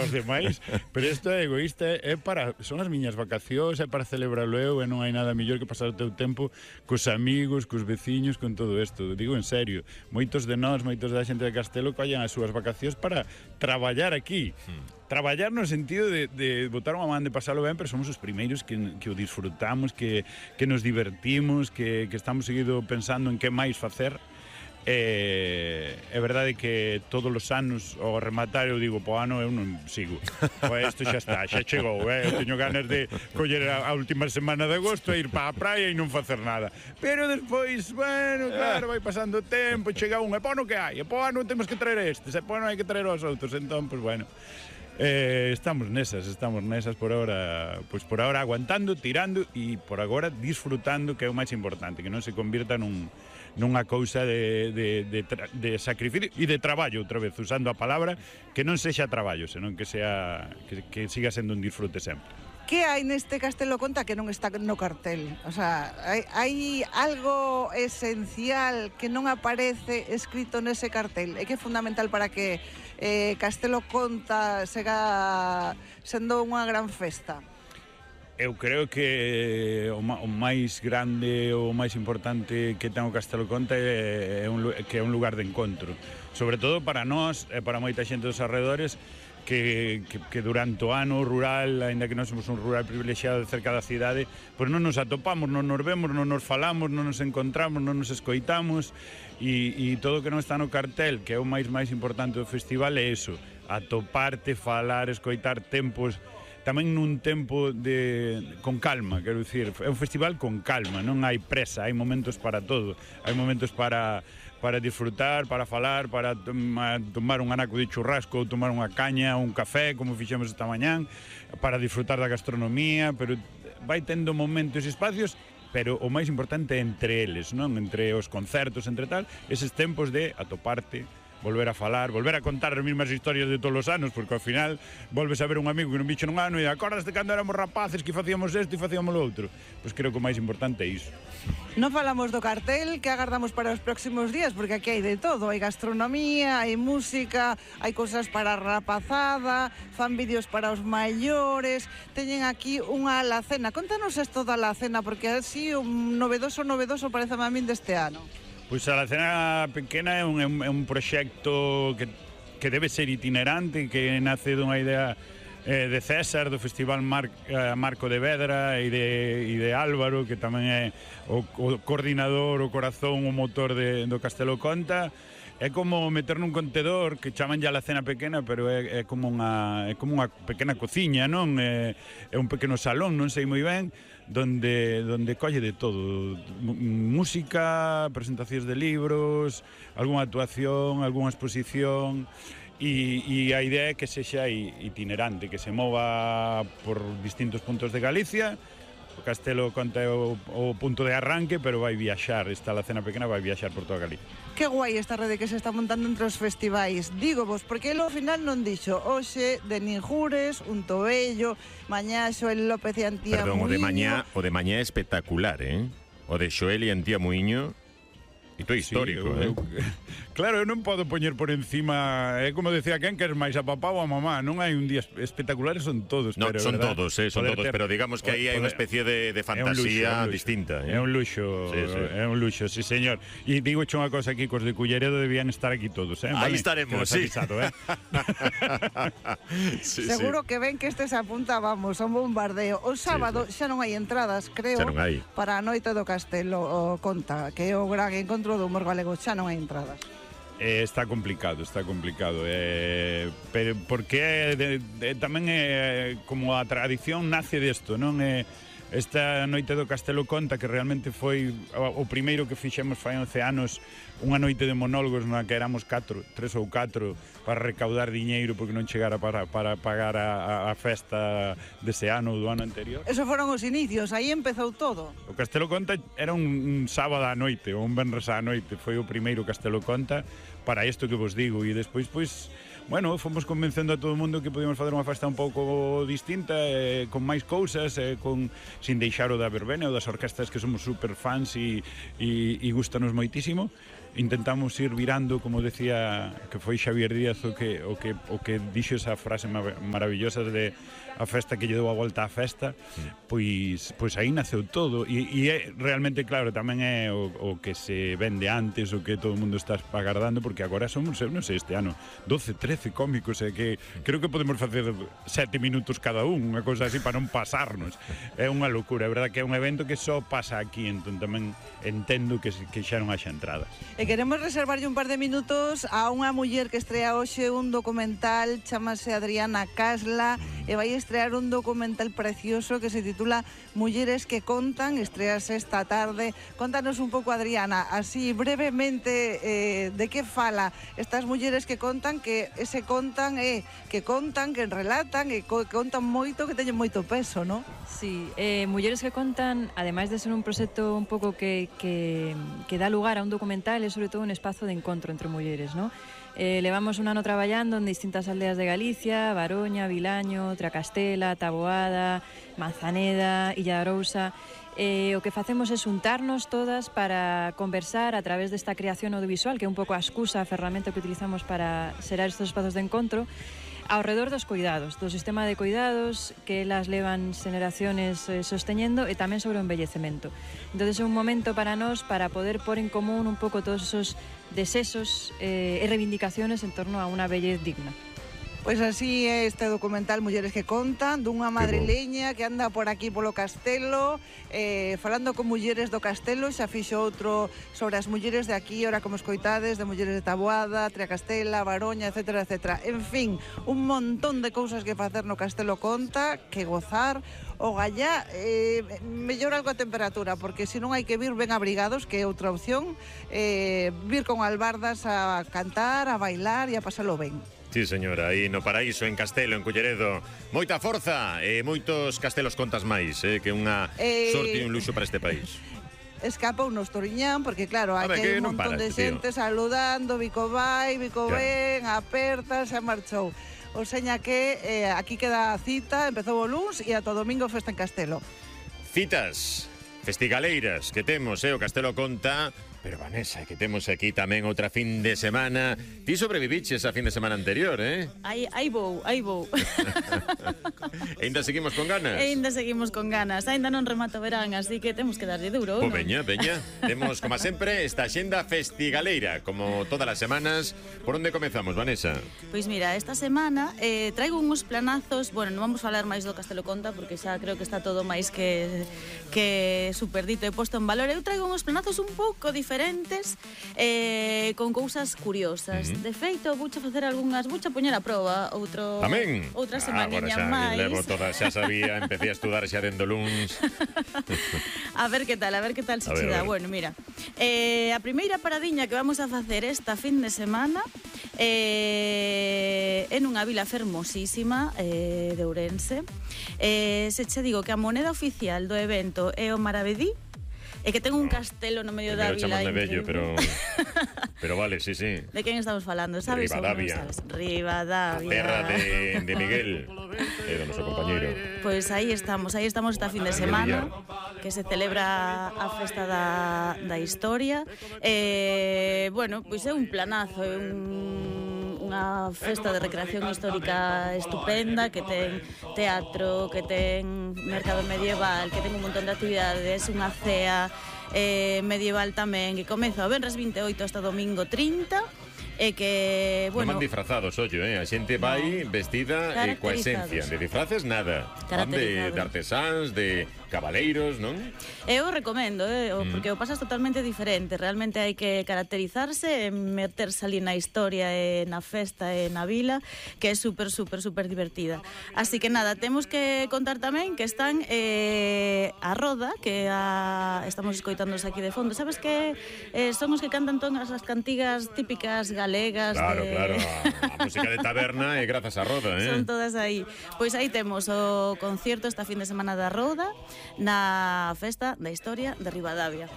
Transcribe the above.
os demais, pero isto é egoísta, son as miñas vacacións, é para celebrarlo eu, e non hai nada mellor que pasar o teu tempo cos amigos, cos veciños, con todo isto. Digo en serio, moitos de nós, moitos da xente de Castelo collen as súas vacacións para traballar aquí. Traballar no sentido de botar unha man de pasalo ben, pero somos os primeiros que o disfrutamos, que nos divertimos, que estamos seguido pensando en que máis facer. É verdade que todos os anos ao rematar eu digo, po ano eu non sigo, pois isto xa está, xa chegou, eu teño ganas de coller a última semana de agosto e ir para a praia e non facer nada, pero despois, bueno, claro, vai pasando o tempo, chega un, e po ano que hai, e po ano temos que traer estes, e po ano hai que traer os outros, entón, pois bueno, estamos nesas por ahora, pois por ahora aguantando, tirando e por agora disfrutando, que é o máis importante, que non se convirta nunha cousa de sacrificio e de traballo, outra vez, usando a palabra, que non sexa traballo, senón que siga sendo un disfrute sempre. Que hai neste Castelo Conta que non está no cartel? O sea, hai algo esencial que non aparece escrito nese cartel e que é fundamental para que Castelo Conta siga sendo unha gran festa. Eu creo que o máis grande, o máis importante que ten o Castelo Conta é un lugar de encontro, sobre todo para nós e para moita xente dos arredores que durante o ano rural, aínda que non somos un rural privilexiado cerca da cidade, pois non nos atopamos, non nos vemos, non nos falamos, non nos encontramos, non nos escoitamos, e todo o que non está no cartel, que é o máis importante do festival, é iso, atoparte, falar, escoitar tempos, tamén nun tempo con calma, quero dicir, é un festival con calma, non hai presa, hai momentos para todo, hai momentos para disfrutar, para falar, para tomar un anaco de churrasco, ou tomar unha caña, un café, como fixemos esta mañán, para disfrutar da gastronomía, pero vai tendo momentos e espacios, pero o máis importante é entre eles, non? Entre os concertos, entre tal, eses tempos de atoparte, volver a falar, volver a contar as mesmas historias de todos os anos, porque ao final volves a ver un amigo que non bicho nun ano e acordas de cando éramos rapaces que facíamos isto e facíamos lo outro. Pois creo que o máis importante é iso. Non falamos do cartel, que agardamos para os próximos días, porque aquí hai de todo, hai gastronomía, hai música, hai cousas para a rapazada, fan vídeos para os maiores, teñen aquí unha alacena. Contanos isto da alacena, porque así un novedoso parece a min deste ano. Pois a Alacena Pequena é un proxecto que debe ser itinerante, que nace dunha idea de César, do Festival Marco de Vedra e de Álvaro, que tamén é o coordinador, o corazón, o motor do Castelo Conta. É como meter nun contedor que chaman ya Alacena Pequena, pero é como unha pequena cociña, non? É un pequeno salón, non sei moi ben, donde colle de todo, música, presentacións de libros, algunha actuación, algunha exposición, e a idea é que sexa itinerante, que se mova por distintos puntos de Galicia. O Castelo Conta é o punto de arranque, pero vai viaxar, esta Alacena Pequena vai viaxar por toda Galicia. Que guai esta rede que se está montando entre os festivais. Digo vos, porque ele ao final non dixo hoxe de Ninjures, un Tobello, mañá Xoel López e Antía Muiño. Perdón, o de mañá é espectacular, O de Xoel e Antía Muiño, isto é histórico, Claro, eu non podo poñer por encima, é como decía quen, que é máis a papá ou a mamá, non hai un día espectaculares, son todos. No, son todos, pero digamos que aí hai unha especie de fantasía distinta. É un luxo, é un luxo, sí señor. E digo unha cosa aquí, cos de Culleredo debían estar aquí todos, Aí estaremos, sí. Seguro que ven que este se apunta, vamos, a un bombardeo. O sábado xa non hai entradas, creo, para a noite do Castelo Conta, que é o gran encontro do humor galego, xa non hai entradas. Está complicado, pero porque tamén é como a tradición nace desto, non? Esta noite do Castelo Conta, que realmente foi o primeiro que fixemos fai 11 anos, unha noite de monólogos na que éramos 3 ou 4 para recaudar diñeiro porque non chegara para pagar a festa dese ano ou do ano anterior. Eso foron os inicios, aí empezou todo. O Castelo Conta era un sábado á noite ou un venres á noite, foi o primeiro Castelo Conta para isto que vos digo, e despois, pois, bueno, fomos convencendo a todo o mundo que podíamos fazer unha festa un pouco distinta, con máis cousas, sin deixar o da verbena ou das orquestas que somos super fans e gustanos moitísimo. intentamos ir virando, como decía que foi Xavier Díaz o que dixo esa frase maravillosa de a festa que lle deu a volta á festa, pois aí naceu todo e é realmente, claro, tamén é o que se vende antes, o que todo o mundo está agardando, porque agora somos, eu non sei, este ano 12, 13 cómicos, que creo que podemos facer 7 minutos cada unha cousa así para non pasarnos. É unha locura, é verdad que é un evento que só pasa aquí, entón tamén entendo que xa non haxa entradas. E queremos reservarlle un par de minutos a unha muller que estrea hoxe un documental, chamase Adriana Casla, e vai estrear un documental precioso que se titula Mulleres que contan, estrease esta tarde. Contanos un pouco, Adriana, así brevemente, de que fala estas mulleres que contan, que ese contan é que contan, que relatan e que contan moito, que teñen moito peso, non? Sí, Mulleres que contan, ademais de ser un proxecto un pouco que dá lugar a un documental, é sobre todo un espazo de encontro entre mulleres, non? Levamos un ano traballando en distintas aldeas de Galicia, Baroña, Vilaño, Tracastela, Taboada, Manzaneda, Illa de Arousa. O que facemos é xuntarnos todas para conversar a través desta creación audiovisual, que é un pouco a excusa, a ferramenta que utilizamos para xerar estes espazos de encontro, ao redor dos cuidados, do sistema de cuidados que elas levan xeneraciones sosteñendo, e tamén sobre o envellecemento. Entón é un momento para nós para poder pôr en común un pouco todos esos desexos e reivindicaciones en torno a unha vellez digna. Pois así é este documental Mulleres que contan, dunha madrileña que anda por aquí polo castelo, falando con mulleres do castelo. Xa fixo outro sobre as mulleres de aquí, ora como escoitades, de mulleres de Taboada, Tracastela, Baroña, etcétera, etcétera. En fin, un montón de cousas que facer no Castelo Conta, que gozar. O gallá, mellor algo a temperatura, porque se non hai que vir ben abrigados, que é outra opción, vir con albardas a cantar, a bailar e a pasalo ben. Sí, señora, aí no Paraíso, en Castelo, en Culleredo. Moita forza e moitos castelos contas máis, que unha sorte e un luxo para este país. Escapa unos Toriñán, porque claro, aquí hai un montón de xente saludando, Vico vai, Vico ven, aperta, xa marchou. O seña que aquí queda a cita, empezou o luns e ata o domingo festa en Castelo. Citas festigaleiras que temos, o Castelo conta. Pero, Vanessa, que temos aquí tamén outra fin de semana. Ti sobreviviches a fin de semana anterior, Aí vou. Ainda seguimos con ganas? Ainda seguimos con ganas. Ainda non remato o verán, así que temos que darlle duro, non? Veña. Temos, como sempre, esta xenda festigaleira, como todas as semanas. Por onde comezamos, Vanessa? Pois mira, esta semana traigo uns planazos. Bueno, non vamos falar máis do Castelo Conta, porque xa creo que está todo máis que superdito e posto en valor. Eu traigo uns planazos un pouco diferentes, con cousas curiosas. De feito, vouche facer algunhas, vouche poñer a proba outra semaniña máis. Levo toda, xa sabía, empecé a estudar xa dendo luns. A ver que tal se che dá. Bueno, mira, a primeira paradiña que vamos a facer esta fin de semana en unha vila fermosísima de Ourense. Se che digo que a moneda oficial do evento é o Maravedí, e que ten un castelo no medio da vila. Bello, pero vale, sí. De quen estamos falando, sabes? Rivadavia. Rivadavia. A terra de Miguel, do noso compañeiro. Pois aí estamos esta fin de semana, que se celebra a festa da historia. Bueno, pois é un planazo, é unha festa de recreación histórica estupenda, que ten teatro, que ten mercado medieval, que ten un montón de actividades, unha cea medieval tamén, que comeza o venres 28 hasta domingo 30, e que, bueno... Non van disfrazados, ollo, a xente vai vestida coa esencia. De disfraces, nada. Van de artesáns, de cabaleiros, non? Eu recomendo, porque o pasas totalmente diferente. Realmente hai que caracterizarse e meterse ali na historia e na festa e na vila, que é super divertida. Así que nada, temos que contar tamén que están a Roda, que estamos escoitándonos aquí de fondo. Sabes que son os que cantan todas as cantigas típicas galegas. Claro, a música de taberna é grazas a Roda, Son todas aí. Pois aí temos o concierto esta fin de semana da Roda, na festa da historia de Rivadavia.